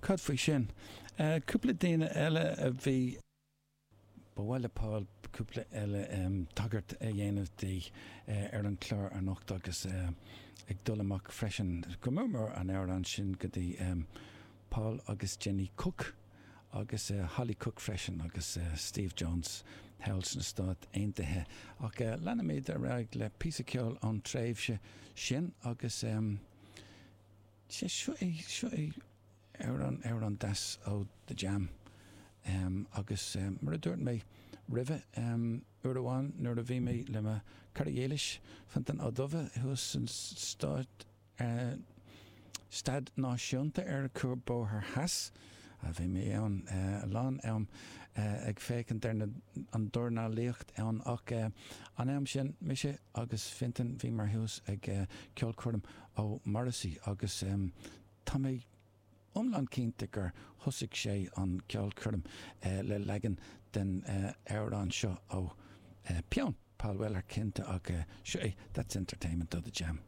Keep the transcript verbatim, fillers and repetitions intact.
Cad faoi sin? Cúpla daoine eile a bhí. Ba mhaith le Paul cúpla eile tagairt a dhéanamh di ar an chlár anocht agus ag dul amach freisin go mór mór an amhrán sin go dtí Paul agus Jenny Cook agus Holly Cook freisin agus Steve Jones thall sna Stáit Aontaithe. Ach leanfaimid ar aghaidh le píosa ceoil ón tréimhse sin agus sé seo é seo é amhrán amhrán deas ó The Jam. Agus mar a dúirt mé roimhe, uair amháin nuair a bhí mé le mo chara dhílis, Fiontan Ó Dubha, thuas san stáid, Staid Náisiúnta ar Cuarbhóthar Theas, bhí mé ann a lán am ag féachaint ar an dornálaíocht ann ach an am sin, mise agus Fintan, bhíomar thuas ag ceolchoirm ó Morrissey agus tá mé iomlán cinnte gur thosaigh sé an ceolchoirm le leagan den amhrán seo ó peann Paul Weller cinnte ach seo é That's Entertainment ó The Jam.